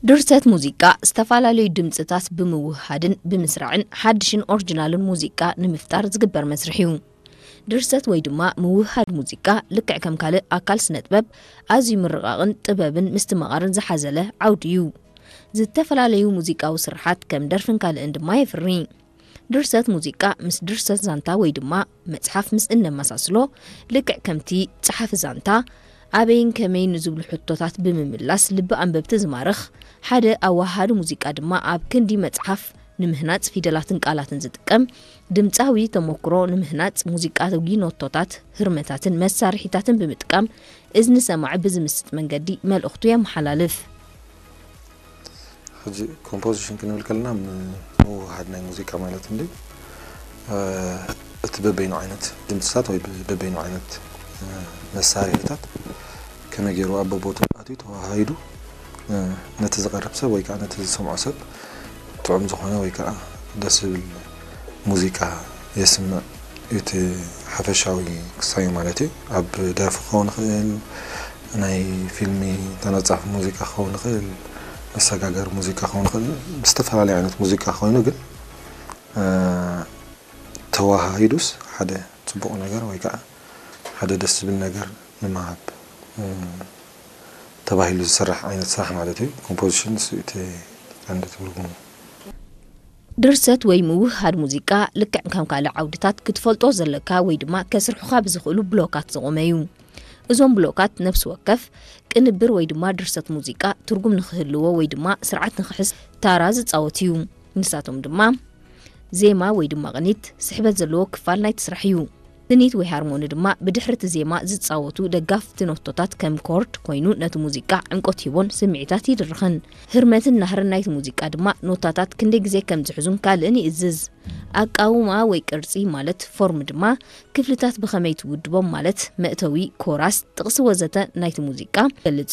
ድርሰት ሙዚቃ ዝተፈላለዩ ድምጽታት ብምውህሃድን ብምስራዕን ሓድሽን ኦሪጂናልን ሙዚቃ ንምፍጣር ዝግበር መስርሕ እዩ። ድርሰት ወይ ድማ ምውህሃድ ሙዚቃ ልክዕ ከም ካልእ ኣካል ስነ ጥበብ ኣዝዩ ምርቓቕን ጥበብን ምስትምቓርን ዝሓዘለ ዓውዲ እዩ። ዝተፈላለዩ ሙዚቃዊ ስርሓት ከም ደርፍን ካልእን ድማ የፍሪ። ድርሰት ሙዚቃ ምስ ድርሰት ዛንታ ወይ ድማ መጽሓፍ ምስ እነመሳስሎ፣ ልክዕ ከምቲ ጸሓፊ ዛንታ ኣበይን ከመይን ንዝብሉ ሕቶታት ብምምላስ ልቢ ኣንበብቲ ዝማርኽ፣ ሓደ ኣወሃሃዲ ሙዚቃ ድማ ኣብ ክንዲ መጽሓፍ ንምህናጽ ፊደላትን ቃላትን ዝጥቀም፣ ድምጻዊ ተመኩሮ ንምህናጽ ሙዚቃዊ ኖቶታት፣ ህርመታትን መሳርሒታትን ብምጥቃም እዝኒ ሰማዒ ብዝምስጥ መንገዲ መልእኽቱ የመሓላልፍ። ሕጂ ኮምፖዚሽን ክንብል ከለና ምውህሃድ ናይ ሙዚቃ ማለት እንዲ እቲ በበይኑ ዓይነት ድምፅታት ወይ በበይኑ ዓይነት መሳርሒታት ከመይ ገይሩ ኣብ በቦቱ ኣትዩ ተዋሃሂዱ ነቲ ዝቐርብ ሰብ ወይ ከዓ ነቲ ዝሰምዖ ሰብ ጥዑም ዝኾነ ወይ ከዓ ደስ ዝብል ሙዚቃ የስምዕ እዩ እቲ ሓፈሻዊ ክሳዩ ማለት እዩ። ኣብ ደርፊ ክኸውን ይኽእል፣ ናይ ፊልሚ ተነጻፊ ሙዚቃ ክኸውን ይኽእል፣ መሰጋገሪ ሙዚቃ ክኸውን ይኽእል፣ ዝተፈላለየ ዓይነት ሙዚቃ ኮይኑ ግን ተዋሃሂዱስ ሓደ ፅቡቕ ነገር ወይ ከዓ ሓደ ደስ ዝብል ነገር ንምሃብ ተባሂሉ ዝስራሕ ዓይነት ስራሕ ማለት እዩ። ኮምፖዚሽን እሱ እቲ ቀንዲ ትርጉሙ። ድርሰት ወይ ምውህሃድ ሙዚቃ ልክዕ ከም ካልእ ዓውድታት ክትፈልጦ ዘለካ ወይ ድማ ከስርሑኻ ብዝኽእሉ ብሎካት ዝቖመ እዩ። እዞም ብሎካት ነፍሲ ወከፍ ቅንብር ወይ ድማ ድርሰት ሙዚቃ ትርጉም ንኽህልዎ ወይ ድማ ስርዓት ንኽሕዝ ታራ ዝጻወት እዩ። ንሳቶም ድማ ዜማ ወይ ድማ ቅኒት ስሕበት ዘለዎ ክፋል ናይቲ ስራሕ እዩ። ስኒት ወይ ሃርሞኒ ድማ ብድሕሪ እቲ ዜማ ዝጻወቱ ደጋፍቲ ኖቶታት ከም ኮርድ ኮይኑ ነቲ ሙዚቃ ዕምቆት ሂቦን ስምዒታት ይድርኸን። ህርመትን ናህርን ናይቲ ሙዚቃ ድማ ኖታታት ክንደይ ግዜ ከም ዝሕዙን ካልእን ይእዝዝ። ኣቃውማ ወይ ቅርጺ ማለት ፎርም ድማ ክፍልታት ብኸመይ ትውድቦም ማለት መእተዊ፣ ኮራስ፣ ጥቕሲ ወዘተ ናይቲ ሙዚቃ ይገልጽ እዩ።